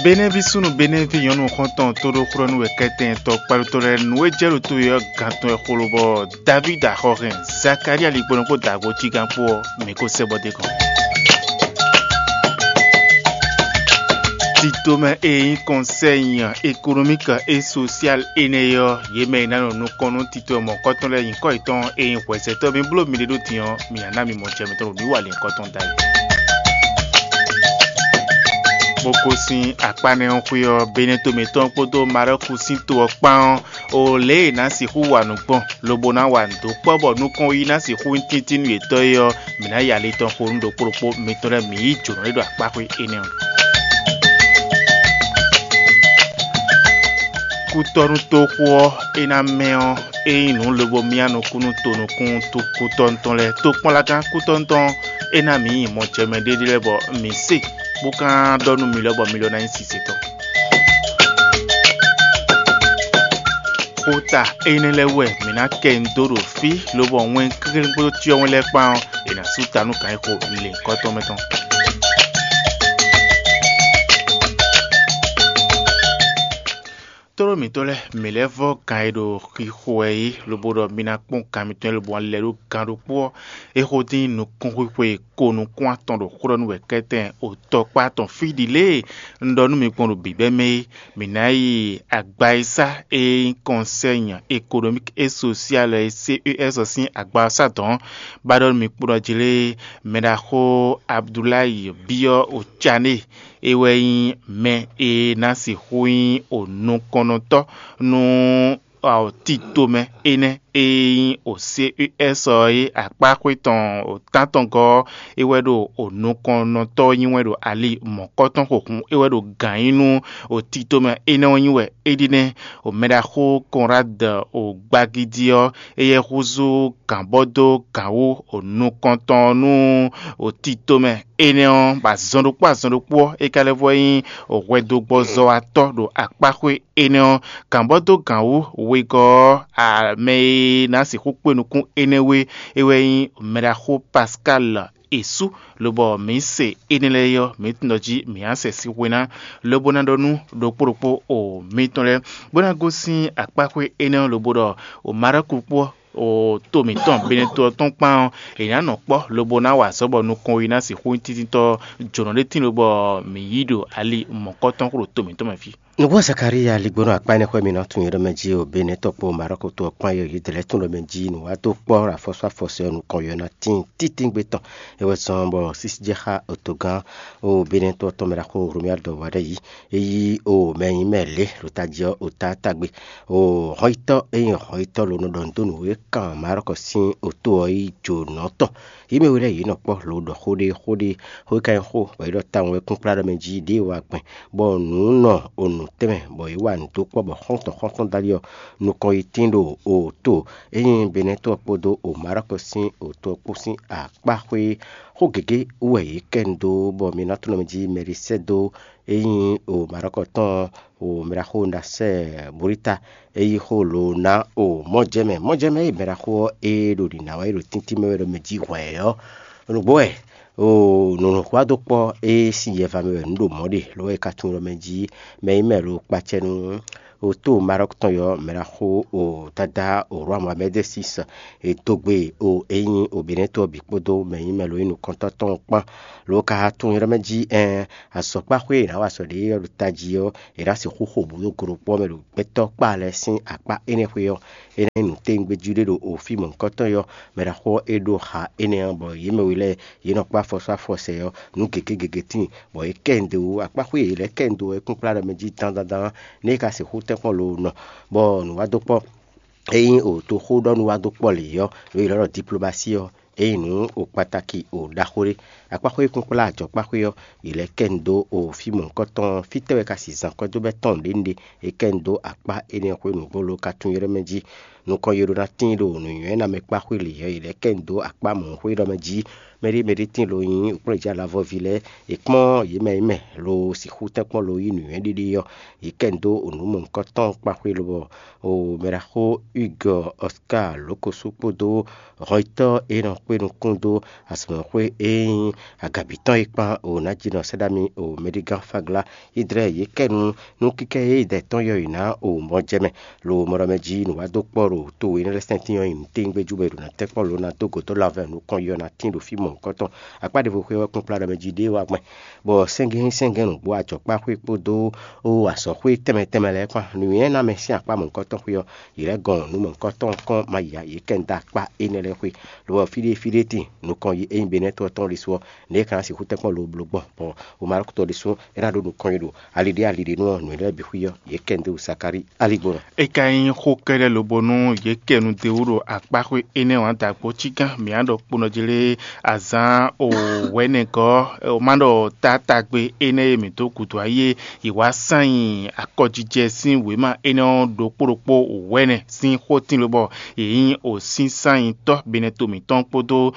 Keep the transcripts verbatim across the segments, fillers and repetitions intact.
Benɛ́ví súnnu Benɛ́ví nyɔ̌nu xɔ́ntɔn tóɖóxlɔ́nú wɛ kɛ́tɛn tɔ kpalutɔ́ lɛ́ɛ nǔ e jɛ ɖo to e ɔ́ gantɔ́ wɛ xo lobɔ Davídi axɔhɛn Zakalía ligbɔnɔ kpó dǎgbó cígán kpó ɔ́, mǐ ko sɛ́ bɔ d'é gɔ́n. Titomɛ e nyí kɔnsɛ́yi ekonomíki e sosial énɛ́ ɔ́, yě mɛ e ná nɔ nukɔn nú titomɛ mɔ̌kɔtɔn lɛ́ɛ nyǐkɔ yětɔn e nyí hwɛsɛtɔ́ mi bló miɖée ɖó din ɔ́, mi ná ná mi mɔ jɛ mitɔn ɖo mǐ wa lěhunkɔtɔn da é. Bó gosín akpá nɛ́ ɔ́ xwé ɔ́, Benɛto mǐtɔn kpódó Marɔ́ku sín to ɔ́ kpán ɔ́, o lě e è nǎ sixú wa nǔ gbɔn, lobo ná wa nǔ dó kpɔ́ bɔ nukɔn yi ná sixú nyí tíntín nú yětɔn é ɔ́, mǐ ná yi ali tɔn xo nú ɖokpó ɖokpó mitɔn lɛ́ɛ mǐ yí jǒnɔ ɖé ɖo akpáxwé énɛ́ ɔ́. Kútɔ́nú toxo ɔ́, é ná mɛ ɔ́, é nyí nǔ lobo myá nukún nú tonukún kútɔ́nú tɔn lɛ́ɛ. Tokpɔ́nlagán kútɔ́nú tɔn ɔ́, é ná mǐ nyi mɔjɛmɛ ɖéɖé lɛ́ɛ bɔ mǐ se, bó ka ɖɔ nú mi lɔ bɔ mi lɔ ná nyí sisetɔ́. Xota énɛ́ lɛ́ɛ wɛ mǐ ná kɛ nyi dó ɖo fí, lobɔ wɛn kéklé kpódó cyɔ́wɛn lɛ́ɛ kpán ɔ́, è nǎ sú ta nú gǎn e xo lěhunkɔtɔn mɛ tɔn. Tlóló mǐtɔn lɛ́ɛ, mǐ lɛ́ vɔ́ gǎn e ɖo xixo wɛ é, lobo ɖɔ mi ná kpɔ́n gǎn mitɔn e lobo wán lɛ́ ɖó gǎn ɖokpó ɔ́, é xo dín nukúnxwixwe ko nukún atɔn ɖo xó ɖɔ nú wɛ kɛ́tɛn otɔkpá tɔn fí ɖi lě e un ɖɔ nú mi gbɔn ɖo bǐbɛ́ mɛ é. Mǐ ná yi agba e sá e nyí kɔnsɛ́ nya ekonomík e sosial e C E S ɔ́ sín agba ɔ́ sá dɔ̌n, bó ná ɖɔ nú mi kpó ɖɔ jí lé, mɛɖaxó Abdulayi byɔ́ Ocané, é wɛ nyí mɛ e ná sixú nyí o nukɔnnɔtɔ́ nú tito mɛ énɛ́ e nyí o C E S ɔ́ é akpáxwé tɔn o tántɔngɔ́ ɔ́, é wɛ ɖo o nukɔnnɔtɔ́ nyí wɛn ɖo ali mɔ̌kɔtɔn xo hǔn é wɛ ɖo gǎn nyí nú o tito mɛ énɛ́ ɔ́ nyí wɛ é ɖi nɛ́. O mɛɖaxó Konrád o gbagidi ɔ́, éyɛ́ húzú gǎn bɔ dó gǎn wú o nukɔntɔn nú o tito mɛ énɛ́ ɔ́, bɔ azɔn ɖokpó azɔn ɖokpó ɔ́, é ka lɛ́ vɔ nyí hwɛdogbɔzɔ́watɔ́ ɖo akpáxwé énɛ́ ɔ́. Gǎn bɔ dó gǎn wú wegɔ́ ɔ́, mɛ e ná sixú kpé nukún énɛ́ wú é, é wɛ nyí mɛɖaxó Pascal Esú, lobɔ mǐ se énɛ́ lɛ́ɛ ɔ́, mǐ tunwun ɖɔ jí mǐ á sɛ sín hwe ná, lobo ná ɖɔ nú ɖokpó ɖokpó o mitɔn lɛ́ɛ, bó ná gosín akpáxwé énɛ́ ɔ́, lobo ɖɔ o Marɔ́ku kpó o to mǐtɔn Beneto ɔ́ tɔn kpán ɔ́, è nǎ nɔ kpɔ́ lobo ná wa azɔ̌ bɔ nukɔn yi ná sixú nyí tíntítɔ́ jǒnɔ ɖé tín lobɔ mǐ yí ɖo ali mɔ̌kɔtɔn xo ɖo to mǐtɔn mɛ fí. Nǔgbó Zakalíya ligbónɔ akpá énɛ́ xwé mǐ nɔ tunwun yě ɖɔ mɛ jí o Benetɔ́ kpó Marɔ́ku to ɔ́ kpán yě yě dlɛ̌ tunwun ɖɔ mɛ jí nǔwató kpɔ́ afɔsú afɔsɛ ɔ́ nukɔn yɔ ná tíin títíngbé tɔn. É wɛ zɔ́n bɔ sísí jɛ xá otogán o Benetɔ́ tɔn mɛ ɖaxó Romia dɔ wá ɖɛ yí. É yí o mɛ nyí mɛ lě ɖo tají ɔ́ o tátágbe. O hɔnyitɔ́ e nyí hɔnyitɔ́ ló nɔ ɖɔ nǔ dó nǔ e kan Marɔ́ku sín oto ɔ́ yí jǒnɔ tɔn. Yě mɛ we lɛ́ɛ yě nɔ kpɔ́ lo ɖɔ xó ɖé xó ɖé xó e ka nyí xó bɔ é ɖɔ tawun wɛ kúnkplá ɖɔ mɛ jí ɖěe wa gbɛn, bɔ nǔ nɔ o nǔ tɛnmɛ bɔ yě wa nǔ dó kpɔ́ bɔ xɔ́ntɔn xɔ́ntɔn dó ali ɔ́, nukɔn yi tín ɖo o to e nyí Benɛ́tɔ́ kpódó o Marɔ́ku sín oto ɔ́ kpó sín akpá xwé. Xó gěgé wú wɛ yě kɛ nu dó bɔ mi ná tunwun mɛ jí Mɛlisɛ́do e nyí o Marɔ́ku tɔn o mɛɖaxó Nasɛ Bulíta é yí xó lo ná o mɔjɛmɛ. Mɔjɛmɛ e mɛɖaxó ɔ́ e ɖo ɖǐ ná wɛ é ɖo tíntín mɛ wɛ ɖo mɛ jí hwɛ̌ ɔ́, nǔgbó wɛ o nǔnúxwá dó kpɔ́ e sín yɛva mɛ wɛ nǔ ɖo mɔ̌ ɖe, lo wɛ é ka tunwun ɖɔ mɛ jí mɛ nyí mɛ lo kpacɛ nú o tó Marɔ́ku tɔn yɔ mɛɖaxó o dáda o Rwamamɛdɛsísi e dó gbe o e nyí o Benɛ́tɔ́ bǐ kpódó mɛ nyí mɛ lo nyí nukɔntɔ́ tɔn kpán. Lo ka tunwun ɖɔ mɛ jí ɛn azɔ̌kpáxwé e è nǎ wa azɔ̌ ɖe ɔ́ ɖo tají ɔ́, è nǎ sixú xo bǔ dó go ɖokpó ɔ́ mɛ ɖo gbɛtɔ́ kpá lɛ́ɛ sín akpá énɛ́ xwé ɔ́. Énɛ́ nyí nǔtɛ́ngbéjí ɖé ɖo o fí mɔ̌hunkɔtɔn yɔ mɛɖaxó ɔ́ é ɖó ha énɛ́ ɔ́, bɔ yě mɛ we lɛ́ɛ yě nɔ kpá afɔsú afɔsɛ ɔ́, nǔ gěgé gěgé tíin, bɔ yě kɛ nyi dó akpáxwé e yě lɛ́ kɛ nyi dó ɔ́ é kúnkplá ɖɔ mɛ jí dandandan, nú é ka sixú tɛ́nkpɔ́n lo nɔ, bɔ nǔ wá dó kpɔ́. Ényí o toxóɖɔnú wá dó kpɔ́ lě ɔ́, nǔ e è nɔ ɖɔ diplomasi ɔ́, é nyí nǔ o kpataki o ɖaxó ɖé. Akpáxwé e kúnkplá ajɔ̌kpáxwé ɔ́, yě lɛ́ kɛ nyi dó o fí mɔ̌hunkɔtɔn ɔ́, fítɛ́ wɛ ka sixú zán kwɛ́ dó bɛ́ tɔn nǔɖé nǔɖé? È kɛ nyi dó akpá énɛ́ xwé nǔgbó lo ka tunwun ylɔ́ mɛ jí. Nukɔn yi ɖó ná tín ɖo nǔnywɛ́ ná mɛ kpá xwé lě ɔ́, yě lɛ́ kɛ nyi dó akpá mɔ̌ xwé ɖɔ mɛ jí. Mɛɖé mɛɖé tín lo nyí kplɔ́njǎ lavɔ́ví lɛ́ɛ, è kpɔ́n yě mɛ yi mɛ lo sixú tɛ́nkpɔ́n lo yí nǔnywɛ́ ɖiɖi ɔ́, yě kɛ nyi dó nǔ mɔ̌hunkɔtɔn kpá xwé lobɔ o mɛɖaxó Hugues Oscar Lókosú kpódó hɔnyitɔ́ e nɔ kpé nukún dó azɔ̌mɛxwé e nyí agabǐ tɔn é kpán o ná jí nɔ sɛ́ ɖó ami o mɛɖígán Fagla yi dlɛ́ yě kɛ nu nú kíkɛ e dɛ tɔn yɔ yě ná o mɔ jɛ mɛ. Lo mɔ ɖɔ mɛ jí nǔ wá dó kpɔ́ ɖo to we énɛ́ lɛ́ɛ sɛ́ntin ɔ́ nyi nǔtɛ́nyígbe jú bɔ è ɖo ná tɛ́ kpɔ́ lǒ ná dó gǒ dó lanvɛ nǔkɔn yɔ ná tín ɖo fí mɔ̌hunkɔtɔn. Akpá ɖěvo xwé ɔ́ kpínkplá ɖɔ mɛ jí ɖé wá gbɛn, bɔ sɛ́ngɛ́n sɛ́ngɛ́n nǔgbó ajɔ̌kpáxwé kpódó ó azɔ̌xwé tɛnmɛ tɛnmɛ lɛ́ɛ kpán. Nǔnywɛ́ ná mɛ sín akpá mɔ̌hunkɔtɔn xwé ɔ́, yě lɛ́ gɔn nǔ mɔ̌hunkɔtɔn kɔn ma ya yě kɛ nú dó akpá énɛ́ lɛ́ɛ xwé, lobɔ fí ɖé fí ɖé tíin nukɔn yi ényí Benɛ́ɛ to ɔ́ tɔn ɖésú ɔ́, nɛ̌ é ka ná sixú tɛ́nkpɔ́n lo bló gbɔn, bɔ Omarɔ́ku tɔn ɖésú é ná ɖó nukɔn yi ɖo ali ɖé ali ɖé nú ɔ́, nǔ énɛ́ lɛ́ɛ bǐ xwí ɔ́, yě kɛ nú dó Zakalíi aligbɔnɔ. É ka nyí xó kɛ́ɖɛ́ lobo nú yě kɛ nu d'é wú ɖo akpáxwé énɛ́ ɔ́ dǎgbó cígán mǐ á ɖɔ kponɔ jí lé azǎn o wɛ̌nɛgɔ́, ma ɖɔ tátágbe énɛ́ e mǐ dó gǔdo ayé e yě wá sán nyi akɔjijɛ sín wěma énɛ́ ɔ́ ɖokpó ɖokpó wɛ̌nɛ sín xótín lobɔ yě nyí osínsányitɔ́ Benɛto mǐtɔn kpódó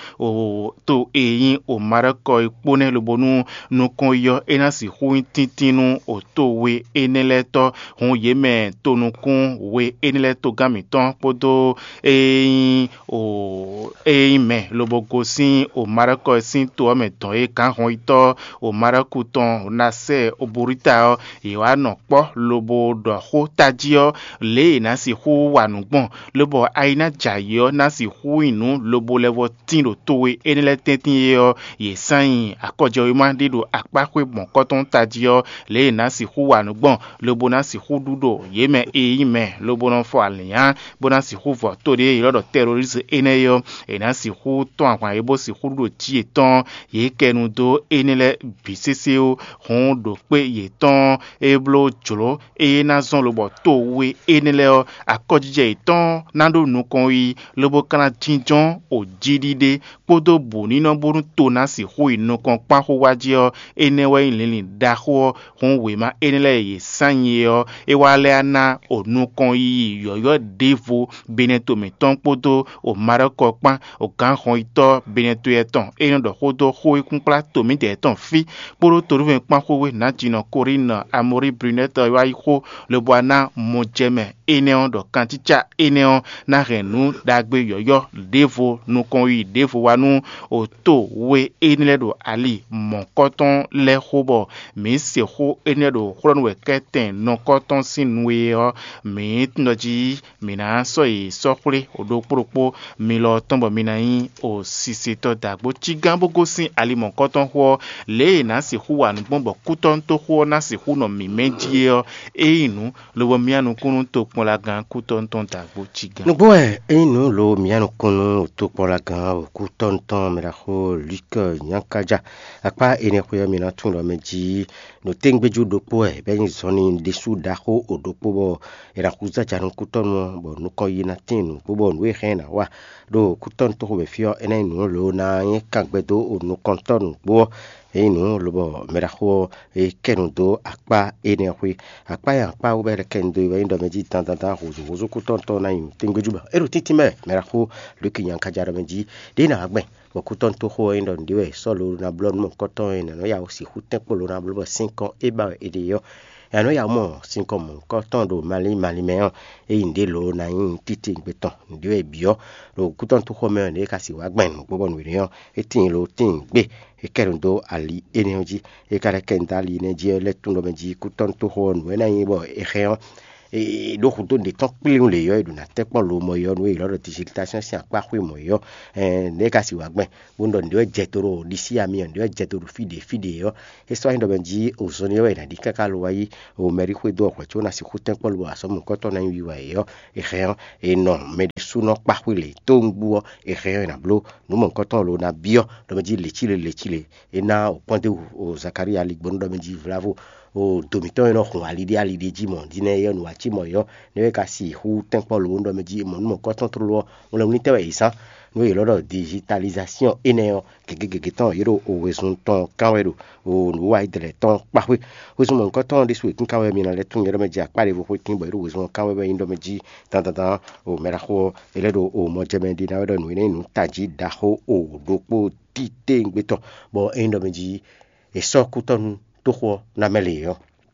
to e nyí Omarɛ́kɔ é kpó nɛ́ lobo nú nukɔn yi ɔ́, é ná sixú nyí tíntín nú to we énɛ́ lɛ́ɛ tɔ́. Hǔn yě mɛ tonukún we énɛ́ lɛ́ɛ togán mǐtɔn kpódó e nyí o e nyí mɛ lobo gosín Omarɛ́kɔ sín to ɔ́ mɛ dɔn é gǎnhɔnyitɔ́ Omarɛ́ku tɔn Nasɛ́ɛ Oboríta ɔ́, yě wá nɔ kpɔ́ lobo ɖɔ xó tají ɔ́, lě e è nǎ sixú wa nǔ gbɔn, lobɔ ayi ná jɛ ayǐ ɔ́ ná sixú nyi nǔ lobo lɛ́ vɔ tín ɖo to we énɛ́ lɛ́ɛ tɛ́ntin é ɔ́, yě sán nyi akɔjɛwéma ɖé ɖo akpáxwé mɔ̌kɔ́tɔn tají ɔ́, lě e è nǎ sixú wa nǔ gbɔn, lobo ná sixú ɖu ɖo yě mɛ e nyí mɛ, lobo nɔ fɔ alǐnnyá, bó ná sixú vɔ to ɖé e è ylɔ́ ɖɔ tɛrolísi énɛ́ é ɔ́, è nǎ sixú tɔ́n ahwan é bó sixú ɖu ɖo jí yětɔn, yě kɛ nu dó énɛ́ lɛ́ɛ bǐ sésé ó. Hǔn ɖo kpé yětɔn e bló jlǒ eye ná zɔ́n lobɔ to we énɛ́ lɛ́ɛ ɔ́, akɔjijɛ yětɔn ná ɖó nukɔn yi, lobo ka ná jínjɔ́n o jiɖiɖe kpódó bǔnínɔ bónú to ná sixú yi nukɔn kpán xó wá jí ɔ́, énɛ́ wɛ nyí linlin ɖaxó ɔ́. Hǔn wěma énɛ́ lɛ́ɛ e yě sán nyi é ɔ́, é wá lɛ́ ná o nukɔn yiyi yɔ̌yɔ́ ɖěvo Benɛto mǐtɔn kpódó o Maɖɔ́kɔ kpán, o gǎnhɔnyitɔ́ Benɛto tɔn e nɔ ɖɔ xó dó xó e kúnkplá to mǐdɛɛ tɔn fí, kpódó Tolúvɛ́n kpán xwéxwé Nǎjínɔ Kolíinu Amɔ́rí Brunɛ́t ɔ́ wá yi xó, lobo wá ná mɔjɛmɛ énɛ́ ɔ́ ɖɔ kancícá énɛ́ ɔ́ ná hɛn nǔ ɖagbe yɔ̌yɔ́ ɖěvo nukɔn yiyi ɖěvo wá nú oto we énɛ́ lɛ́ɛ ɖo ali mɔ̌kɔtɔn lɛ́ɛ xó bɔ mǐ se xó énɛ́ ɖo xlɔ́ nú wɛ kɛ́tɛn nɔkɔ́tɔn sín nu e ɔ́, mǐ tunwun ɖɔ jí mǐ ná sɔ́ yě sɔ́ xwlé ɖokpó ɖokpó mi lɔ tɔn bɔ mi ná nyí o sisetɔ́ dǎgbó cígán bó gosín ali mɔ̌kɔtɔn xó ɔ́, lě e è nǎ sixú wa nǔ gbɔn bɔ kútɔ́nútóxó ɔ́ ná sixú nɔ mǐmɛ́ jí é ɔ́, é nyí nǔ lobo myá nukúnnú tokpɔnlagán kútɔ́nútɔn dǎgbó cígán. Nǔgbó wɛ é nyí nǔ lo mǐa nukúnnú tokpɔnlagán wǒkútɔ́nútɔn mɛɖaxó Luke Nyankaja. Akpá énɛ́ xwé ɔ́, mi ná tunwun ɖɔ mɛ jí ɖo téŋgbéjú ɖokpó wɛ bɔ é nyí zɔnlin ɖésú ɖaxó o ɖokpó bɔ è nǎ xú zája nukúntɔ́nu ɔ́, bɔ nukɔn yi ná tín nǔgbó bɔ nǔ e hɛn ná wa ɖo kútɔ́nu tóxo mɛ fí ɔ́, é ná nyí nǔ lǒ ná nyí kangbɛ dó o nukɔntɔ́ nǔgbó ɔ́. É nyí nǔ lobɔ mɛɖaxó ɔ́, é kɛ nu dó akpá énɛ́ ɔ́ xwé. Akpá e akpá wú bɔ é kɛ nu dó é wɛ nyí ɖɔ mɛ jí dandandan hǔzúhúzú kútɔ́ntɔ́ ná nyi nǔ téŋgbéjú bɔ é ɖo títí mɛ. Mɛɖaxó Luki Nyankaja ɖɔ mɛ jí ɖěe ná wá gbɛn bɔ kútɔ́nútóxó ɔ́ nyí ɖɔ nǔɖé wɛ è sɔ́ lo ná blɔ́ nú mɔ̌hunkɔtɔn e nǎ nɔ ya wǔ sixú tɛ́nkpó lo ná bló bɔ sín kɔn é ba wɛ è ɖe ɔ́. È nǎ nɔ ya wú mɔ sín kɔn mɔ̌hunkɔtɔn ɖo malín malín mɛ ɔ́, ényí nǔɖé lo ná nyí títí gbe tɔn nǔɖé wɛ è byɔ́ ɖo kútɔ́nútóxó mɛ ɔ́, nǔɖé ka sixú wá gbɛn nǔgbó bɔ nǔɖé ɔ́, é tíin lo tíin gbé. È kɛ nu dó ali énɛ́ ɔ́ jí. È ka lɛ́ kɛ nu dó ali énɛ́ jí ɔ́, lɛ́ tunwun ɖɔ mɛ jí kútɔ́nútóxó ɔ́, nǔ e ná nyí bɔ è hɛn ɔ́, ɖó hudó ɖě tɔn kplé nu lě ɔ́, è ɖǒ ná tɛ́ kpɔ́n lo mɔ ɔ́, nú è ylɔ́ ɖɔ disilitasyɔn sín akpá xwé mɔ̌ ɔ́, nɛ̌ é ka sixú wá gbɛn? Bónú ɖɔ nǔɖé wɛ jɛ do ɖo ɖisí ami ɔ́, nǔɖé wɛ jɛ do ɖo fí ɖě fí ɖě ɔ́, é sɔ́ nyí ɖɔ mɛ jí ozɔnlin ɔ́ wɛ è nǎ ɖi káká lo wá yí o mɛɖíxwé dó ɔ́ hwɛ̌ có ná sixú tɛ́nkpɔ́n lo bɔ azɔ̌mɔ̌hunkɔtɔn ná nyí wiwa yě ɔ́, è hɛn ɔ́, è nɔ mɛ ɖésúnɔ kpá xwé lě tóngbú ɔ́, è hɛn ɔ́, è nǎ bló nǔ mɔ̌hunkɔtɔn lo ná byɔ́ ɖɔ mɛ jí lěcíle lěcíle. É ná o kpɔ́n dó wú o Zakalíya ligbɔnú ɖɔ mɛ jí vlavo o do mǐtɔn e nɔ hun ali ɖé ali ɖé jí mɔ̌ dínɛ é ɔ́, nǔ wá cí mɔ̌ é ɔ́, nɛ́ é ka sixú tɛ́nkpɔ́n lo ɖɔ mɛ jí mɔ̌ nú mɔ̌hunkɔtɔn tlóló ɔ́, un lɛ́ wlí tɛ́ wɛ è zán nú è ylɔ́ ɖɔ digitalizasíɔn énɛ́ ɔ́, gěgé gěgé tɔn yě ɖo wezun tɔn kán wɛ ɖo nǔwiwa e dlɛ̌ tɔn kpá xwé. Wezun mɔ̌hunkɔtɔn ɔ́ ɖésú è kín kán wɛ mi ná lɛ́ tunwun nyɛ ɖɔ mɛ jí akpá ɖěvo xwé kín bɔ é ɖo wezun ɔ́ kán wɛ wɛ nyí ɖɔ mɛ jí dandandan o mɛ ɖaxó ɔ́, é lɛ́ ɖo o mɔjɛmɛ ɖi ná wɛ ɖɔ nǔ énɛ́ nyí nǔ tají ɖaxó o ɖokpó titewungbe tɔn, bɔ é nyí ɖɔ mɛ jí è sɔ́ kútɔ́ nú tóxo ɔ́ ná mɛ lě ɔ́.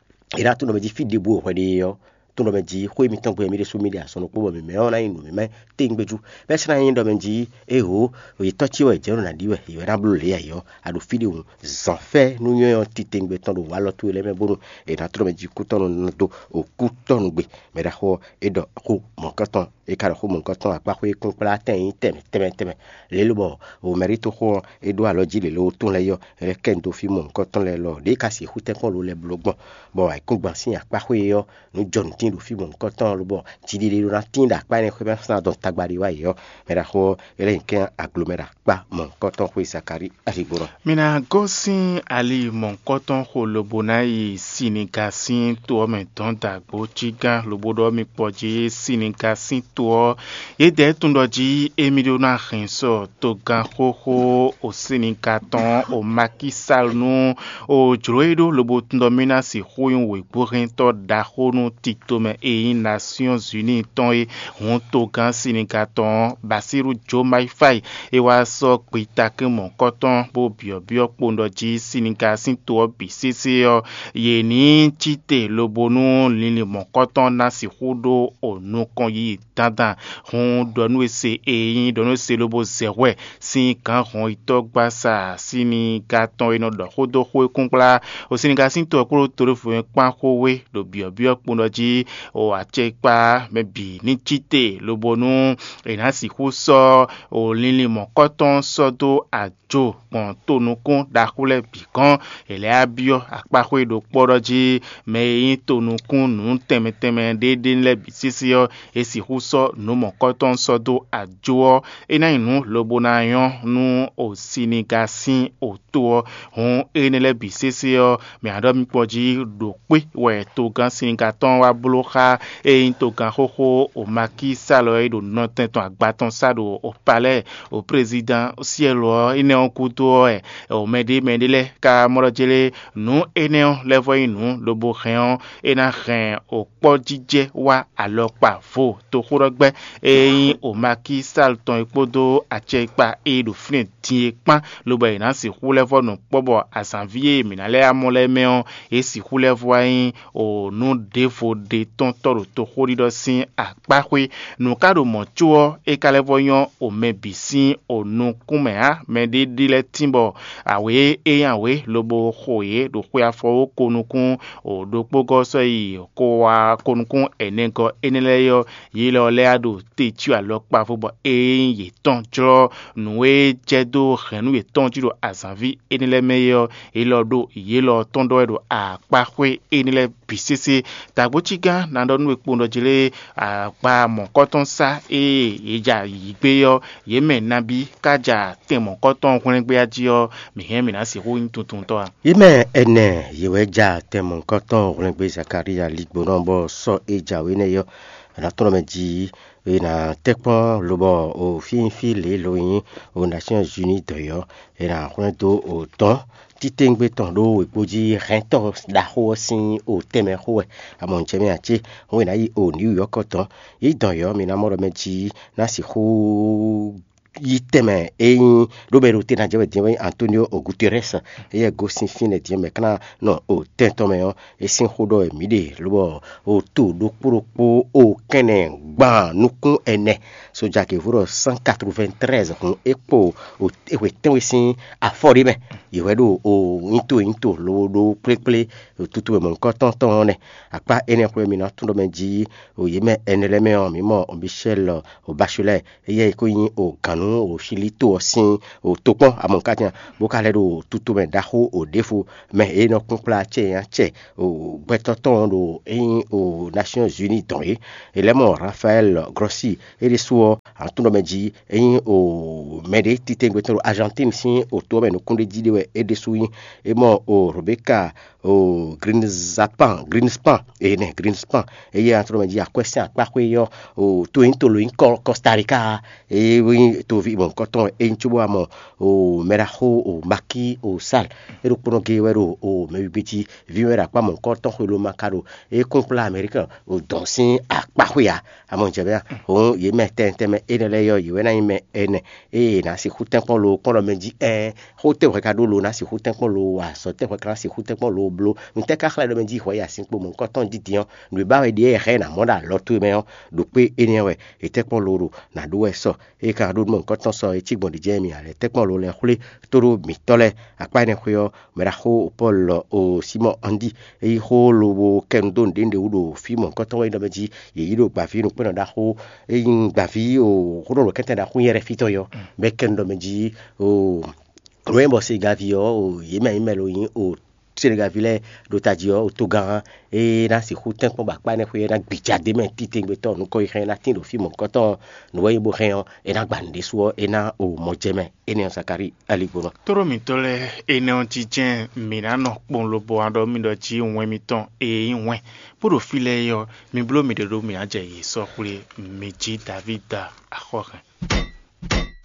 È nǎ tunwun ɖɔ mɛ jí fí ɖěbǔ e hwɛ ɖe é ɔ́, tunwun ɖɔ mɛ jí xwé mitɔn gbe ɔ́, mì ɖésú mì ɖe azɔn ɖokpó bɔ mǐmɛ́ ɔ́ ná nyí nǔ mǐmɛ́ tewungbe jú. Bɔ é sɔ́ ná nyí ɖɔ mɛ jí éhǒ, yě tɔ́ ce wɛ è jɛ nɔ ná ɖi wɛ, yě wɛ ná bló lě ǎ é ɔ́, a ɖo fí ɖé hǔn, zǎnfɛ́ nú nyɔ́nyɔ́ titewungbe tɔn ɖo walɔ towe lɛ́ɛ mɛ bónú è nǎ tunwun ɖɔ mɛ jí kútɔ́nú ná dó o kútɔ́núgbe. Mɛ ɖaxó ɔ́, é ɖɔ xó mɔ̌hunkɔtɔn, é ka ɖɔ xó mɔ̌hunkɔtɔn akpá xwé kún kplá tɛn nyí tɛnmɛ tɛnmɛ tɛnmɛ. Lě lobɔ o mɛɖítoxo ɔ́, é ɖó alɔ jí lě ló tún lɛ́ɛ yɔ, é lɛ́ kɛ nyi dó fí mɔ̌hunkɔtɔn lɛ́ɛ lɔ, ɖěe ka sixú tɛ́nkpɔ́n lo lɛ́ɛ bló gbɔn, bɔ ayǐkúngban sín akpá xwé ɔ́, nǔ jɔ nǔ tíin ɖo fí mɔ̌hunkɔtɔn ɔ́, lobɔ jiɖiɖe ɖó ná tíin ɖo akpá énɛ́ xwé mɛ sín adɔn tagba ɖé wá yě ɔ́, mɛ ɖaxó ɔ́, é lɛ́ nyi kɛ́n aglo mɛ ɖo akpá mɔ̌hunkɔtɔn xwé Zakalíi aligbó nɔ. Mi ná gosín ali mɔ̌hunkɔtɔn xo lobo ná yi Siniga sín to ɔ́ mɛ dɔn dagbo cígán lobo ɖɔ mi kpɔ jí Siniga sín to ɔ́. Yědɛɛ tunwun ɖɔ jí émí ɖó ná hɛn sɔ togán xóxó o Siniga tɔn o Makisal nú o jlǒ e ɖó lobo tunwun ɖɔ mì ná sixú nyí wěgbóhɛntɔ́ ɖaxó nú tito mɛ e nyí Nasyɔ́n Zuni tɔn é. Hǔn togán Siniga tɔn ɔ́, Basíru Jomaifai é wá sɔ́ gbitakín mɔ̌kɔ́tɔn bó byɔ̌byɔ́ kpowun ɖɔ jí Siniga sín to ɔ́ bǐ sésé ɔ́, yě ní cí te lobo nú linlin mɔ̌kɔ́tɔn ná sixú ɖó o nukɔn yiyi dandan. Hǔn ɖɔ nú we se e nyí ɖɔ nú we se lobo zɛ hwɛ sín gǎn hɔnyitɔ́gbasa Siniga tɔn e nɔ ɖɔ xó dó xó e kún kplá o Siniga sín to ɔ́ kpódó to ɖěvo mɛ kpán xó wé ɖo byɔ̌byɔ́ kpowun ɖɔ jí o acɛkpá mɛ bǐ ní cí te lobo nú è nǎ sixú sɔ́ o linlin mɔ̌kɔ́tɔn sɔ́ dó ajo gbɔn tonukún ɖaxó lɛ́ɛ bǐ gɔ́n. È lɛ́ wá byɔ́ akpáxwé ɖokpó ɖɔ jí mɛ e nyí tonukún nǔ tɛnmɛ tɛnmɛ ɖéɖé lɛ́ɛ bǐ sésé ɔ́, è sixú sɔ́ nǔ mɔ̌kɔ́tɔn sɔ́ dó ajo ɔ́, é ná nyí nǔ lobo ná nyɔ́ nú o Siniga sín o to ɔ́. Hǔn énɛ́ lɛ́ɛ bǐ sésé ɔ́, mǐ ná ɖɔ mi kpɔ́n jí ɖo kpé wɛ togán Siniga tɔn wá bló xá e nyí togán xóxó o Makísalɔ e ɖo nɔtɛn tɔn agba tɔn sá ɖo o palɛ́ɛ o prézidán syɛ́lu ɔ́ énɛ́ ɔ́ gúdo ɔ́ wɛ o mɛɖé mɛɖé lɛ́ɛ ka mɔ ɖɔ jlé nǔ énɛ́ ɔ́ lɛ́ vɔ nyí nǔ lobo hɛn ɔ́, é ná hɛn o kpɔ́jijɛ wá alɔkpa vo toxóɖɔgbɛ́ e nyí o Makísal tɔn é kpódó acɛkpa e ɖo fínɛ́ din é kpán, lobo è nǎ sixú lɛ́ vɔ nɔ kpɔ́ bɔ azǎnví e mǐ ná lɛ́ amɔ lɛ́ɛ mɛ ɔ́, é sixú lɛ́ vɔ wá nyí o nǔ ɖěvo ɖe tɔn tɔ́ ɖo toxóɖiɖɔ sín akpáxwé. Nǔ ka ɖo mɔ̌ có ɔ́, é ka lɛ́ vɔ nyɔ́ o mɛ bǐ sín o nukún mɛ ǎ. Mɛɖé ɖi lɛ́ tín bɔ awě e nyí awě lobo xo yě ɖo xwe afɔwóko nukún o ɖokpógɔ́ sɔ́ yi ko wá ko nukún ɛnɛgɔ́ énɛ́ lɛ́ɛ ɔ́, yě lɔ lɛ́ɛ ɖo te cyɔ alɔkpa vo bɔ é nyí yětɔn jlɔ́ nǔ e jɛ dó hɛ̌nnu yětɔn jí ɖo azǎnví énɛ́ lɛ́ɛ mɛ é ɔ́, é lɔ ɖo yě lɔ tɔn ɖɔ wɛ ɖo akpáxwé énɛ́ lɛ́ɛ bǐ sésé. Dǎgbócígán ná ɖɔ nú we kpowun ɖɔ jlé agba mɔ̌kɔ́tɔn sá e yě ja yǐ gbé ɔ́, yě mɛ nabí ká ja tɛn mɔ̌kɔ́tɔn hwlɛ́ngbéá jí ɔ́, mǐ hɛn mǐ ná sixú nyí tuntuntɔ́ a? Yě mɛ ɛnɛ yě wɛ ja tɛn mɔ̌kɔ́tɔn hwlɛ́ngbé Zakalía ligbónɔ bɔ sɔ́ e jǎwe nɛ́ ɔ́, è nǎ tlɔ́n mɛ jí è nǎ tɛ́ kpɔ́n lobɔ o fínfín lě e lo nyí o Nasyɔ́n Uní dɔ̌n ɔ́, è nǎ hwlɛ́n dó o dɔ̌n titewungbe tɔn ɖó wěgbó jí hɛntɔ́ ɖaxó ɔ́ sín o tɛnmɛ xó wɛ. Amɔ̌ jɛ mɛ ǎ cé? Hǔn è nǎ yi o Nǐwuyɔ́kɔ dɔ̌n. Yě dɔn yɔ̌, mi ná mɔ ɖɔ mɛ jí ná sixú yi tɛnmɛ e nyí ɖó mɛ ɖo te ná jɛ wɛ din wɛ nyí Antonio Guterres. Éyɛ́ gosín fínɛ́ din mɛ kán nɔ o tɛn tɔn mɛ ɔ́, é sín xó ɖɔ wɛ mǐ ɖe, lobɔ o to ɖokpó ɖokpó o kɛnɛ gban nukún ɛnɛ. Soja kevo ɖɔ cent quatre-vingt-treize hun é kpo o é hwe tɛ́nwe sín afɔ ɖé mɛ. Yě wɛ ɖo o nyito nyito lo ɖó kplékplé tutu e mɔ̌hunkɔtɔn tɔn ɔ́ nɛ́. Akpá énɛ́ xwé mi ná tún ɖɔ mɛ jí o yě mɛ ɛnɛ lɛ́ɛ mɛ ɔ́, mǐ mɔ o Michel o Bachelet, éyɛ́ e ko nyí o gǎnnú o Chili to ɔ́ sín o tokpɔ́n amɔ̌katɛn, bó ka lɛ́ ɖo tutu mɛ ɖaxó o ɖěvo mɛ e nɔ kpɔ́n kplá acɛ nyi acɛ o gbɛtɔ́ tɔn ɔ́ ɖo é nyí o Nations Unies dɔn é. È lɛ́ mɔ Rafael Grossi, é ɖésú ɔ́, atunɖɔ mɛ jí é nyí o mɛɖé titewungbe tɔn ɖo Argentine sín o to ɔ́ mɛ nukúnɖéjí ɖé wɛ é ɖésú nyí. É mɔ o Rebecca o Greenspan, Greenspan, énɛ́ Greenspan, éyɛ́ atunɖɔ mɛ jí akwɛ́ sín akpáxwé ɔ́, o to nyí to lo nyí Costa Rica, é nyí toví mɔ̌hunkɔtɔn wɛ é nyí cóbó wá mɔ o mɛɖaxó o Maki o Sal é ɖokpónɔ géé wɛ ɖo o mɛwígbé jí. Vǐ wɛ ɖo akpá mɔ̌hunkɔtɔn xwelo ma ka ɖo é kún kplá Amɛ̌rika o dɔn sín akpá xwe ǎ. Amɔ jɛ bɛ́ hǔn yě mɛ tɛntɛn mɛ énɛ́ lɛ́ɛ yɔ yě wɛ ná nyí mɛ ɛnɛ ée è nǎ sixú tɛ́nkpɔ́n lo kpɔ́n ɖɔ mɛ jí ɛɛn xó tɛ́ hwɛ ka ɖó lo ná sixú tɛ́nkpɔ́n lo wa azɔ̌ tɛ́ hwɛ ka ná sixú tɛ́nkpɔ́n lo bló. Nǔtɛ́ ka xlɛ́ ɖɔ mɛ jí hwɛ yi asínkpo mɔ̌hunkɔtɔn dídin ɔ́, nǔ e ba wɛ ɖíe è hɛn ná mɔ ɖo alɔ towe mɛ ɔ́, ɖo kpé énɛ́ wɛ è tɛ́nkpɔ́n lo ɖo nǎ ɖó wɛ sɔ. É ka ɖó nú mɔ̌hunkɔtɔn sɔ é cí gbɔn ɖě jɛ́n mì ǎ lɛ́ɛ tɛ́nkpɔ́n lo lɛ́ɛ xwlé tó ɖó mǐtɔ́ lɛ́ɛ. Akpá énɛ́ xwé ɔ́, mɛɖaxó Pɔ́lu ɔ, Simɔ́ɔ Andi, é yí xó lobo kɛ nu dó nǔɖé nǔɖé wú ɖo fí mɔ̌hunkɔtɔn wɛ nyí ɖɔ mɛ jí yě yí ɖo gbǎví nukpɛ́nɔ ɖaxó, é nyí gbǎví o xóɖɔlɔkɛ́tɛn ɖaxó nyɛ́ɖɛ́ fítɔ́ yɔ, bɔ é kɛ nu ɖɔ mɛ jí o nǔ e bɔ Segavi ɔ́, o yě mɛ nyí mɛ lo nyí o Senegavi lɛ́ɛ ɖo tají ɔ́, o togán é ná sixú tɛ́nkpɔ́n bɔ akpá énɛ́ xwé é ná gbija d'é mɛ titewungbe tɔn nukɔn yi hɛn é ná tín ɖo fí mɔ̌hunkɔtɔn ɔ́, nǔ wɛ nyí bó hɛn ɔ́, é ná gba nǔɖé su ɔ́, é ná o mɔ jɛ mɛ. Énɛ́ ɔ́, Zakalíi aligbɔnɔ. Tóɖó mǐtɔn lɛ́ɛ énɛ́ ɔ́ jínjɛ́n mǐ ná nɔ kpɔ́n lobo wá ɖɔ mì ɖɔ jí wɛn mitɔn e nyí wɛn, bó ɖo fí lɛ́ɛ é ɔ́, mi bló miɖée ɖó mǐ ná jɛ yě sɔ́ xwlé. Mi jí Davída axɔ́hɛn.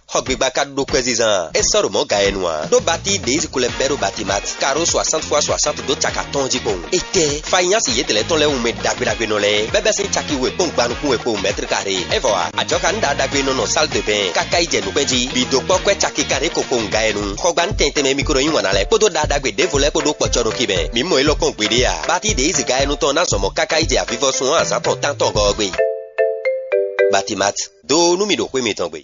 Xɔgbigba ka ɖo kwɛzizan a? É sɔ́ ɖo mɔ̌ ga e nu ǎ. Ɖó batí ɖě yi zinkú lɛ́ɛ bɛ́ ɖo Batimati, karo soixante fois soixante dó caka tɔn jí kpowun. Étɛ́, Fayinyási yědɛɛ tɔn lɛ́ɛ wunmɛ ɖagbe ɖagbe nɔ lɛ́ɛ, bɛ́ bɛ́ sín caki we kpɔ́n gban nukún we kpowun mɛtiri karé. É vɔ ǎ, ajɔ̌ ka nǔ ɖagbe ɖagbe nɔ nɔ sál de bɛn, káká yi jɛ nukpɛ́n jí, bǐ dó kpɔ́ kwɛ́ caki karé ko kpowun ga e nu. Xɔgba nú tɛntɛn mɛ mi ko nɔ yí wǎn ná lɛ́ɛ kpódó ɖagbe ɖagbe ɖěvo lɛ́ɛ kpó ɖó kpɔ̌ cɔ́ nukí mɛ. Mǐ mɔ élɔ́ kpɔ́n gbeɖé ǎ. Batí ɖě yi zǐn ga e nu tɔn ná zɔn mɔ̌ káká yi jɛ avivɔsun ɔ́ azǎn tɔn tántɔn gɔ́ ɔ́ gbe. Batimati, dó nú mì ɖo xwé mitɔn gbe.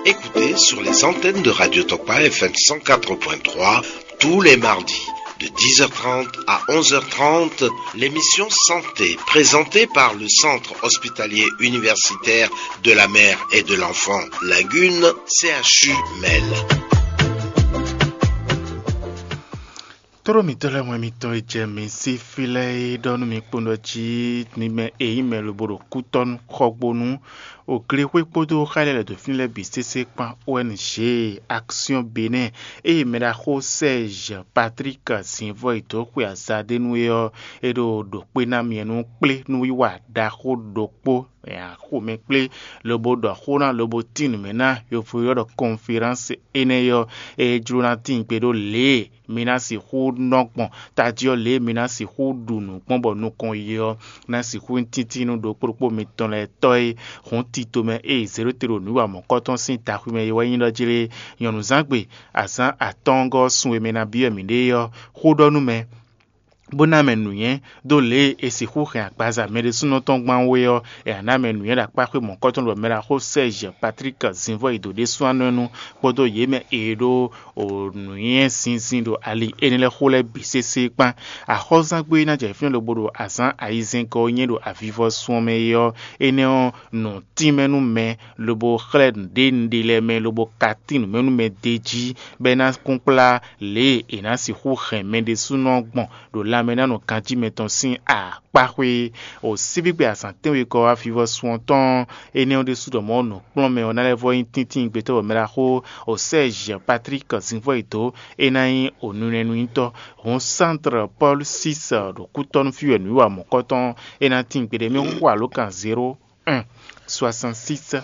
Écoutez sur les antennes de Radio Tokpa F M cent quatre point trois tous les mardis de dix heures trente à onze heures trente l'émission Santé présentée par le Centre hospitalier universitaire de la mère et de l'enfant Lagune, C H U Mel. Tóɖó mǐtɔn lɛ́ɛ wɛn mitɔn e jɛ mǐ sí fí lɛ́ɛ é ɖɔ nú mi kpowun ɖɔ jí mi mɛ e nyí mɛ lobo ɖo kútɔ́nú xɔgbónú, oglexwé kpódó xá lɛ́ɛ lɛ̌ dó fínɛ́ lɛ́ɛ bǐ sésé kpán O N G Action Benin, eye mɛɖaxó Serge Patrick Zinvɔ e dó xwe aza ɖé nú é ɔ́, é ɖo ɖo kpé ná myɛ nú kplé nú wiwa ɖaxó ɖokpó xomɛ kplé, lobo ɖɔ xó ná lobo tín nǔ mɛ ná yovo ylɔ́ ɖɔ conférence énɛ́ ɔ́, é jló ná tín gbe ɖó lě e mi ná sixú nɔ gbɔn tají ɔ́, lě e mi ná sixú ɖu nǔ gbɔn bɔ nukɔn yi ɔ́ ná sixú nyí títí nú ɖokpó ɖokpó mitɔn lɛ́ɛ tɔ́ e hǔn tito mɛ ée zěɖóte ɖo nǔwiwa mɔ̌kɔtɔn sín taxwimɛ é wɛ nyí ɖɔ jlé. Nyɔ̌nuzángbe azǎn atɔ́ɔ́ngɔ́ ɔ́ sun e mɛ ná byɔ́ mǐɖée ɔ́, xó ɖɔ nú mɛ, bó ná mɛ nǔnywɛ́ dó lě e è sixú hɛn agbaza mɛ ɖésúnɔ tɔn gbán wé ɔ́, è nǎ ná mɛ nǔnywɛ́ ɖo akpá xwé mɔ̌kɔtɔn ɖo mɛɖaxó Serge Patrick Zinvɔ yi dǒ ɖésú anɔ́ nu kpódó yě mɛ e ɖó nǔnywɛ́ zinzin ɖo ali énɛ́ lɛ́ɛ xó lɛ́ɛ bǐ sésé kpán. Axɔ́zángbé ná jɛ fínɛ́ lobo ɖo azǎn ayizɛ́ngɔ́ e nyí ɖo avivɔsun ɔ́ mɛ é ɔ́, énɛ́ ɔ́, nǔ tínmɛ nú mɛ lobo xlɛ́ nǔɖé nǔɖé lɛ́ɛ mɛ lobo ka tín nǔ mɛ nú mɛ d'é jí, bɔ é ná kún kplá lě e è nǎ sixú hɛn mɛ ɖésúnɔ gbɔn ɖo lanmɛnánɔ ganjí mɛtɔn sín akpáxwé. O síbígbe azǎn tɛ́nwe kɔ wá vivɔsun ɔ́ tɔn, énɛ́ ɔ́ ɖésú ɖɔ mɔ̌ nǔkplɔ́nmɛ ɔ́ ná lɛ́ vɔ nyí tíntín gbetɔ́ bɔ mɛɖaxó o Serge Patrick Zinvɔ́ yi dó é ná nyí o nunɛnúnyítɔ́. Hǔn Centre Paul six ɖo kútɔ́nú fí wɛ nǔwiwa mɔ̌kɔtɔn é ná tín gbeɖé mɛ xó alǒkan zéro un soixante six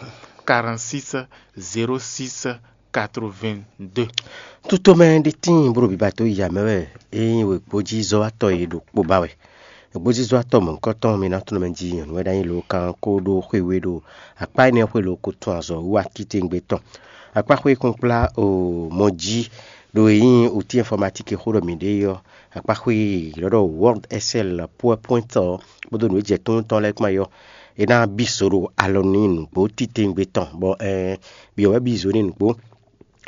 quarante six zéro six quatre-vingt-deux. Tutomɛ ɖe tíin bó ɖo biba tó ya mɛ wɛ é nyí wěgbójízɔ́watɔ́ e ɖo kpo ba wɛ. Wěgbójízɔ́watɔ́ mɔ̌hunkɔtɔn mi ná tunɔ mɛ jí nyɔ̌nu wɛ ɖ'ayǐ lo kan kó ɖó xwé we ɖo akpá énɛ́ xwé lo ko tun azɔ̌ wú wá títewungbe tɔn. Akpá xwé kún kplá o mɔ jí ɖo e nyí outil informatique xó ɖɔ mǐ ɖe é ɔ́, akpá xwé e è ylɔ́ ɖɔ Word, Excel, PowerPoint ɔ́ kpódó nǔ e jɛ tónú tɔn lɛ́ɛ kpán é ɔ́, é ná bí zo ɖo alɔ n'i nǔgbó titewungbe tɔn, bɔ ɛɛ byɔ̌ wɛ bí zo n'i nǔgbó,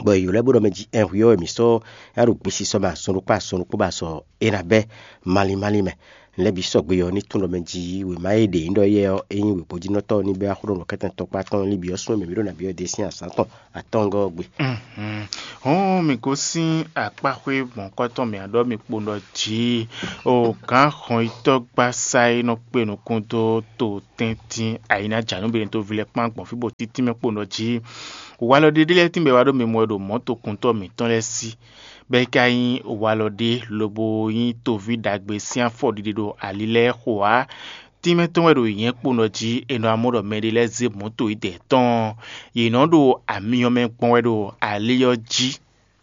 bɔ è ylɔ́ ɛ bó ɖɔ mɛ jí ɛɛ hwi ɔ́ wɛ mǐ sɔ́ ná ɖo gbesisɔ mɛ azɔn ɖokpó azɔn ɖokpó bɔ azɔn é ná bɛ́ malín málín mɛ. Lɛ́ bǐ sɔgbe ɔ́ ní tunwun ɖɔ mɛ jí wěma e ɖě nyí ɖɔ éyɛ́ ɔ́, é nyí wěgbójínɔtɔ́ ɔ́ ní bɛ́ wá xó ɖɔ nǔ kɛ́tɛn tɔkpá tɔn lín byɔ́ sún mɛ mǐ ɖo nǎ byɔ́ ɖe sín azǎn tɔn atɔ́ngɔ́ ɔ́ gbe. Hɔn mi gosín akpáxwé mɔ̌kɔtɔn mǐ aɖɔ mi kpo ɖɔ jǐ o gǎn xɔnyitɔ́gbasá e nɔ kpe nukún dó to tɛ́ntin ayǐnájǎnúbɛ́nɛ́ toví lɛ́ɛ kpán gbɔn fí bó títí mɛ kpo ɖɔ jǐ. Walɔ ɖé ɖé lɛ́ɛ tínbɛ wá ɖó mi mɔ wɛ ɖo mɔ̌tokuntɔ́ mǐtɔn lɛ́ɛ sí, bɔ é ka nyí walɔ ɖé lobo nyí toví ɖagbe sín afɔɖiɖe ɖo ali lɛ́ɛ xo ǎ. tínmɛ tɔn wɛ ɖo nyɛ kpo nɔ jí è nɔ amɔ ɖɔ mɛɖé lɛ́ɛ zé mɔ̌to yědɛɛ tɔn ɔ́, yě nɔ ɖo amyɔ mɛ gbɔn wɛ ɖo ali ɔ́ jí.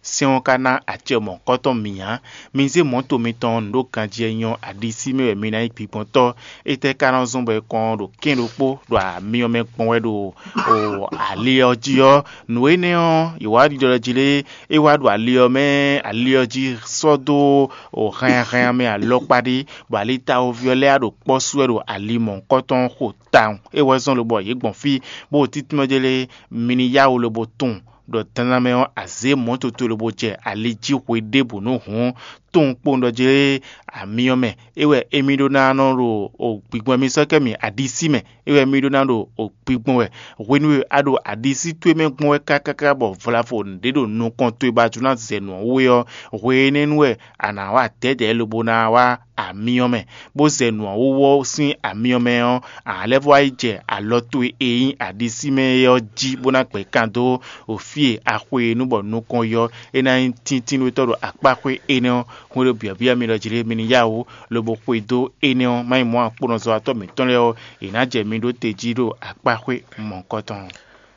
Sɛ́n ɔ́ ka ná acɛ mɔ̌hunkɔtɔn mǐ ǎ. Mi zé mɔ̌to mitɔn nǔ ɖo ganjí e nyɔ́ aɖisí mɛ wɛ mi ná nyí gbigbɔntɔ́. Étɛ́ ka nɔ zɔ́n bɔ è kɔn ɖo kɛ́n ɖokpó ɖo amyɔ mɛ gbɔn wɛ ɖo o ali ɔ́ jí ɔ́? Nǔ énɛ́ ɔ́, yě wá ɖiɖɔ ɖɔ jí lé? É wá ɖo ali ɔ́ mɛ, ali ɔ́ jí sɔ́ dó o hɛnnyahɛnnya mɛ alɔkpa ɖé, bɔ alitawóví ɔ́ lɛ́ɛ wá ɖo kpɔ́ sú wɛ ɖo ali mɔ̌hunkɔtɔn ɔ́ xo tawun. É wɛ zɔ́n lobɔ yě gbɔn fí, bó ɖo títínmɛ jɛ lé? Mi ní yá wǔ lobo tunwun ɖɔ dandan mɛ ɔ́, azě mɔ̌ toto lobo jɛ ali jí hwe ɖěbǔ nú hǔn, tunwun kpowun ɖɔ jlé amyɔ mɛ. É wɛ émí ɖó ná nɔ ɖo gbigbɔn mì sɔ́ kɛ mì aɖisí mɛ. É wɛ émí ɖó ná ɖo gbigbɔn wɛ hwenu e a ɖo aɖisí towe mɛ gbɔn wɛ kákáká bɔ vlavo ɖě ɖo nukɔn towe ba jló ná zɛ nǔ ɔ́ wú é ɔ́, hwe énɛ́ nu wɛ a nǎ wá dɛ̌dɛ̌ lobo ná wá amyɔ mɛ, bó zɛ nǔ ɔ́ wú ɔ́ sín amyɔ mɛ ɔ́, a nǎ lɛ́ vɔ wá yi jɛ alɔ towe e nyí aɖisí mɛ é ɔ́ jí bó ná gbɛ̌ kan dó o fí e a xwe e nú bɔ nukɔn yɔ é ná nyí tíntínnútɔ́ ɖo akpáxwé énɛ́ ɔ́. Hwenu e byɔ̌byɔ́ mi ɖɔ jlé mi ní yá wǔ, lobo xwedó énɛ́ ɔ́, má nyí mɔ̌ akpónɔzɔ́watɔ́ mǐtɔn lɛ́ɛ ɔ́, yě ná jɛ mi ɖó te jí ɖo akpáxwé mɔ̌hunkɔtɔn.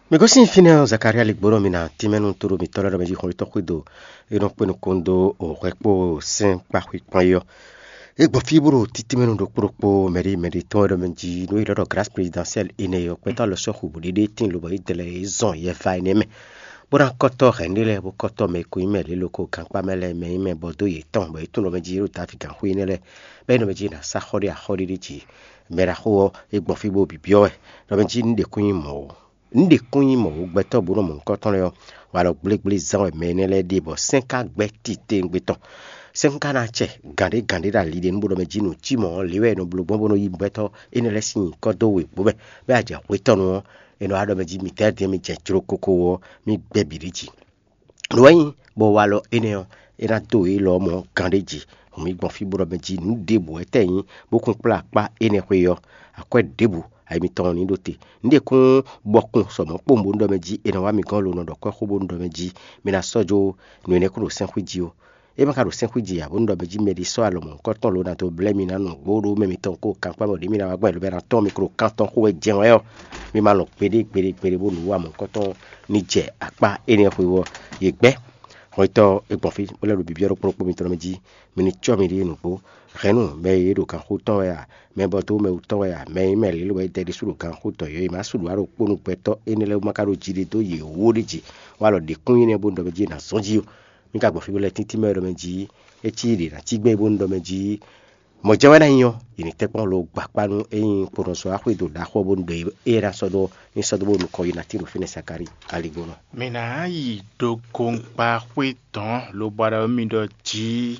Mi gosín fínɛ́ ɔ́, Zakalía lí gbónɔ mi ná tínmɛ nú tóɖó mitɔ́ lɛ́ɛ ɖɔ mɛ jí hɔnlítɔ́ xwedó e nɔ kpé nukɔn dó o hwɛ kpó sɛ́n kpáxwé kpán é ɔ́. É gbɔ fí bó ɖo títínmɛ nú ɖokpó ɖokpó mɛɖé mɛɖé tɔn wɛ ɖɔ mɛ jí nú é ɖɔ ɖɔ Grâce Présidentielle énɛ́ ɔ́, gbɛtɔ́ alɔ sɔ́ xu bǔɖéɖé tíin lobɔ é dlɛ́ é zɔn yɛ va énɛ́ mɛ, bó ná kɔ́tɔ́ hɛ̌nnu lɛ́ɛ bó kɔ́tɔ́ mɛ e ko nyí mɛ lě loko gankpá mɛ lɛ́ɛ mɛ nyí mɛ bɔ dó yětɔn bɔ é tunwun ɖɔ mɛ jí é ɖo Davídi gǎnxwé énɛ́ lɛ́ɛ, bɔ é nɔ mɛ jí é ná sá xɔ ɖé axɔ́ ɖé jí. Mɛ ɖaxó ɔ́, é gbɔn fí bó byɔ́ wɛ ɖɔ mɛ jí un ɖe kún nyí mɔ̌ ó. Un ɖe kún nyí mɔ̌ ó, gbɛtɔ́ bó nɔ mɔ nukɔntɔn lɛ́ɛ ɔ́, walɔ gblégblé zán wɛ mɛ énɛ́ lɛ́ɛ ɖe bɔ sɛ́n ka gbɛ́ titewungbe tɔn. Sɛ́n ka ná acɛ gǎn ɖé gǎn ɖé ɖo ali ɖé nú bó ɖɔ mɛ jí nǔ cí mɔ̌ ɔ́, lě wɛ è nɔ bló gbɔn bó nɔ yí gbɛtɔ́ énɛ́ lɛ́ɛ sín nyǐkɔ dó wěgbó mɛ, bɔ é wá jɛ hwetɔ́nu ɔ́, è nɔ wá ɖɔ mɛ jí midɛɛ din e mi jɛ jló koko ɔ́, mì gbɛ́ bǐ ɖi jí. Nǔ wɛ nyí bɔ walɔ énɛ́ ɔ́, é ná dó yě lɔ mɔ̌ gán ɖé jí. Hǔn mì gbɔn fí bó ɖɔ mɛ jí nǔ ɖěbǔ wɛ tɛ́ nyí bó kún kplá akpá énɛ́ xwé ɔ́, akwɛ́ ɖěbǔ ayi mitɔn ní ɖó te. Nǔ ɖě kún bɔ kún sɔ mɔ̌ kpowun bónú ɖɔ mɛ jí è nɔ wá mi gɔ́n lo nɔ ɖɔ kwɛ́ xó bónú ɖɔ mɛ jí mi ná sɔ́ jó nǔ énɛ́ kún ɖo sɛ́nxwí jí ó. É ma ka ɖo sɛ́nxwí jí ǎ bónú ɖɔ mɛ jí mɛɖé sɔ́ alɔ mɔ̌hunkɔtɔn lo ná dó blɛ́ mi ná nɔ gbó ɖó mɛ mitɔn kó kankpá bɔ ɖě mi ná wá gbɔn ɛ lobɛ ná tɔ́n mi klo kan tɔn xó wɛ jɛ́n wɛ ɔ́, mi ma lɔn gbeɖé gbeɖé gbeɖé bónú wá mɔ̌hunkɔtɔn ní jɛ akpá énɛ́ xwé ɔ́. Yě gbɛ́ hwetɔ́ é gbɔn fí bó lɛ́ ɖo byɔ́byɔ́ ɖokpó ɖokpó mitɔn mɛ jí, mi ní cɔ́ miɖée nǔgbó. Hɛ̌nnu mɛ e ɖo ganxó tɔn wɛ a, mɛ bɔ dó mɛ wú tɔn wɛ a, mɛ e nyí mɛ lě lobɔ é dɛ ɖésú ɖo ganxó tɔn yě e ma sú ɖǒ ɖokpó nú gbɛtɔ́ énɛ́ lɛ́ɛ wú ma ka ɖo jí ɖé dó yě wú ó ɖé jí. Wá lɔ ɖě kún nyí nɛ́ bónú ɖɔ mɛ jí è nǎ zɔ́n jí ó. Mi ka gbɔ fí bó lɛ́ tíntín mɛ ɖɔ mɛ jí é cí ɖě ná cí gbɛ́ bónú ɖɔ mɛ jí mɔ̌ jɛ́n wɛ ná nyí ɔ́, yě ní tɛ́ kpɔ́n lo gba akpá nú é nyí kponɔsɔ axwé do ɖaxó bónú ɖɔ é ná sɔ́ ɖó ní sɔ́ dó bónú nukɔn yi ná tín ɖo fínɛ́ Sakári aligbónɔ. Mǐ ná yi ɖo gongba xwé dɔ̌n lobo ɖɔ mì ɖɔ jǐ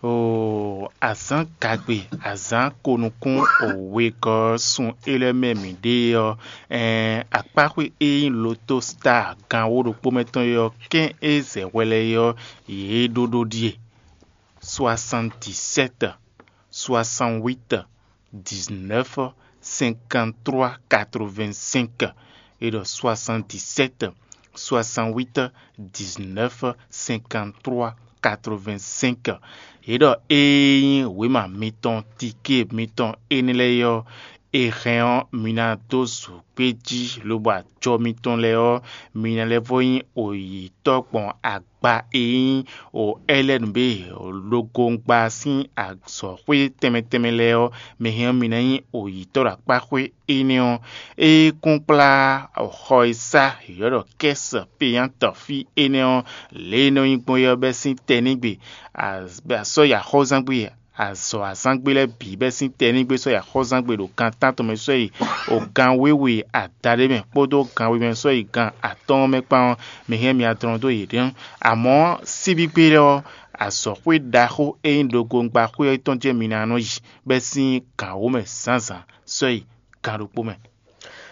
oo azǎn gagbe azǎn konukún wegɔ́ sun é lɛ́ɛ mɛ mǐ ɖe ɔ́, ɛn akpáxwé e nyí loto star gan wó ɖokpó mɛ tɔn é ɔ́, kɛ́n e zɛ hwɛ lɛ́ɛ é ɔ́, yě ɖó ɖó ɖíe: soixante-dix-sept, soixante-huit, dix-neuf, cinquante-trois, quatre-vingt-cinq. É ɖɔ soixante-dix-sept, soixante-huit, dix-neuf, cinquante-trois, quatre-vingt-cinq. É ɖɔ ée nyí wěma mitɔn, tiké mitɔn énɛ́ lɛ́ɛ é ɔ́, è hɛn ɔ́, mi ná dó zǔgbéjí lobo ajɔ mitɔn lɛ́ɛ ɔ́, mi ná lɛ́ vɔ nyí oyǐtɔ́ gbɔn agba e nyí o Ɛlɛ́nu bé logongba sín azɔ̌xwé tɛnmɛ tɛnmɛ lɛ́ɛ ɔ́ mɛ hɛn ɔ́, mi ná nyí oyǐtɔ́ ɖo akpáxwé énɛ́ ɔ́. É kún kplá xɔ e sá yɔ̌ ɖɔ kɛ́sɛ peyántɔ fí énɛ́ ɔ́, lě e é nɔ nyí gbɔn é ɔ́ bɛ́ sín tɛnígbe, sɔ́ yi axɔ́zángbé, azɔ̌ azángbé lɛ́ɛ bǐ bɛ́ sín tɛnígbe sɔ́ yi axɔ́zángbé ɖo gan tántɔn mɛ sɔ́ yi o gan wěwe adaɖé mɛ kpódó gan we mɛ sɔ́ yi gan atɔ́ɔ́n mɛ kpán ɔ́, mi hɛn mi adlɔn dó yě ɖɔhun. Amɔ̌ síbígbé lɛ́ɛ ɔ́, azɔ̌xwé ɖaxó e nyí ɖokpóngbáxwé ɔ́ tɔn jɛ́n mi ná nɔ yi bɛ́ sín gan wǒ mɛ zǎnzǎn sɔ́ yi gan ɖokpó mɛ.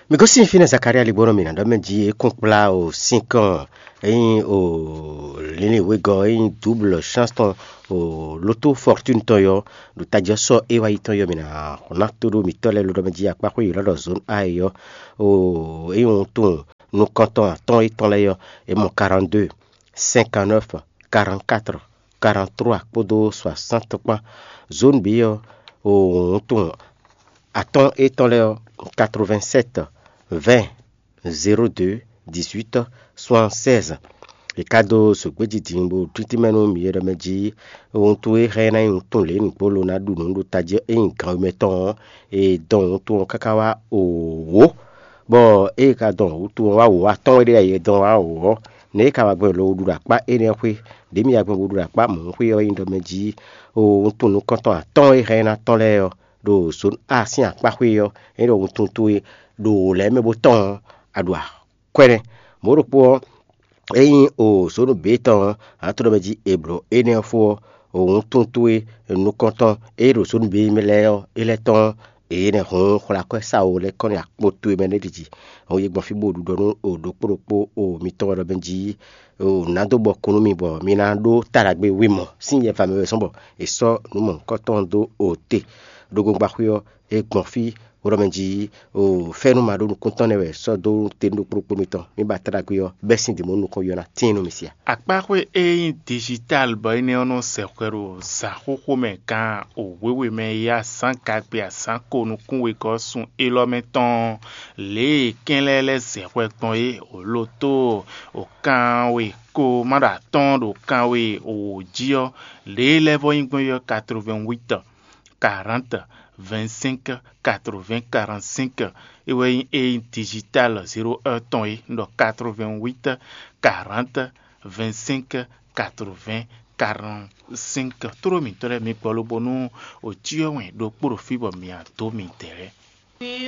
Mi gosín fínɛ́ Zakalía ligbónɔ mi ná ɖɔ mɛ jí é kún kplá o sínkɔn é nyí o lǐnlín wegɔ́ é nyí dǔblɔ chance tɔn o lótó fortune tɔn yɔ ɖo tají ɔ́ sɔ́ é wá yi tɔn yɔ mi ná ná tó ɖó mǐtɔn lɛ́ɛ ló ɖɔ mɛ jí akpáxwé yě lɔ́ ɖɔ zone A é yɔ o é nyí wuntun nukɔntɔn atɔ́ɔ́n étɔn lɛ́ɛ yɔ é mɔ quarante-deux, cinquante-neuf, quarante-quatre, quarante-trois kpódó soixante kpán. Zone B ɔ́ o wuntun atɔ́ɔ́n étɔn lɛ́ɛ ɔ́, quatre-vingt-sept, vingt, zéro deux, dix-huit, soixante-seize. È ka dó zǒgbéjí din bó tíntín mɛ nú mǐ e ɖɔ mɛ jí wuntun e hɛn ná nyí wuntun lě nǔgbó lo ná ɖu nǔ ɖo tají ɔ́, é nyí gan wemɛ tɔn ɔ́, è dɔn wuntun ɔ́ káká wá wǒ, bɔ ée è ka dɔn wuntun ɔ́ wá wǒ atɔ́ɔ́n e ɖe ɖ'ayǐ è dɔn wá wǒ ɔ́, nɛ̌ é ka wá gbɔn lo ɖu ɖo akpá énɛ́ ɔ́ xwé? Ɖě mǐ wá gbɔn bó ɖu ɖo akpá mɔ̌hun xwé ɔ́ nyí ɖɔ mɛ jí wuntun nukɔntɔn atɔ́ɔ́n e hɛn ná tɔn lɛ́ɛ ɔ́, ɖo zǒn A sín akpá xwé ɔ́, é ɖo wuntun towe ɖo wǒ lɛ́ɛ mɛ bó tɔn ɔ́, a ɖu akwɛ́nɛ. Mɔ̌ ɖokpó ɔ́, ényí o zǒnu bǐ tɔn ɔ́, a to ɖɔ mɛ jí è blǒ énɛ́ ɔ́ fó ɔ́, o wuntun towe nukɔntɔn e ɖo zǒnu bǐ mɛ lɛ́ɛ ɔ́, é lɛ́ tɔ́n ɔ́, èyí nɛ́ hǔn xwlá akwɛ́ sawo lɛ́ɛ kɔn nyi akpo towe mɛ lɛ́ɛ ɖi jí. Hǔn yi gbɔn fí bó ɖu ɖɔ nú o ɖokpó ɖokpó o mitɔn wɛ ɖɔ mɛ jí o nǎ dó bɔ kún nú mi bɔ mi ná ɖó ta ɖagbe wi mɔ̌ sín yɛ va mɛ wɛ zɔ́n bɔ è sɔ́ nǔ mɔ̌hunkɔtɔn dó o te. Ɖo gbongbaxwé ɔ́, é gbɔn fí hwlɔ́mɛ jí o fɛ́nú ma ɖó nukúntɔn nɛ́ wɛ sɔ́ dó te nú ɖokpó ɖokpó mitɔn. Mi ba ta ɖagbe ɔ́, bɛ́ sín dǐn mɔ nukɔn yɔ ná tíin nú mi sia. Akpáxwé e nyí digital bɔ énɛ́ ɔ́ nɔ zɛ hwɛ ɖo zǎn xóxó mɛ gan wěwe mɛ e yá zǎn gagbe azǎn ko nukún wegɔ́ sun élɔ́ mɛ tɔn ɔ́, lě e kɛ́n lɛ́ɛ lɛ́ zɛ hwɛ gbɔn é, wǒ lo tó o kanwe ko ma ɖo atɔ́ɔ́n ɖo kanwe wǒ jí ɔ́, lě e lɛ́ vɔ́ nyí gbɔn é ɔ́, quatre-vingt-huit, quarante, vingt-cinq, quatre-vingts, quarante-cinq. É wɛ nyí é nyí digital zéro un tɔn é, un ɖɔ quatre-vingt-huit, quarante, vingt-cinq, quatre-vingts, quarante-cinq. Tlóló mǐtɔn lɛ́ɛ, mi gbɔ lobonu o cyɔ wɛn ɖokpó ɖo fí bɔ mǐ a dó midɛɛ lɛ́ɛ.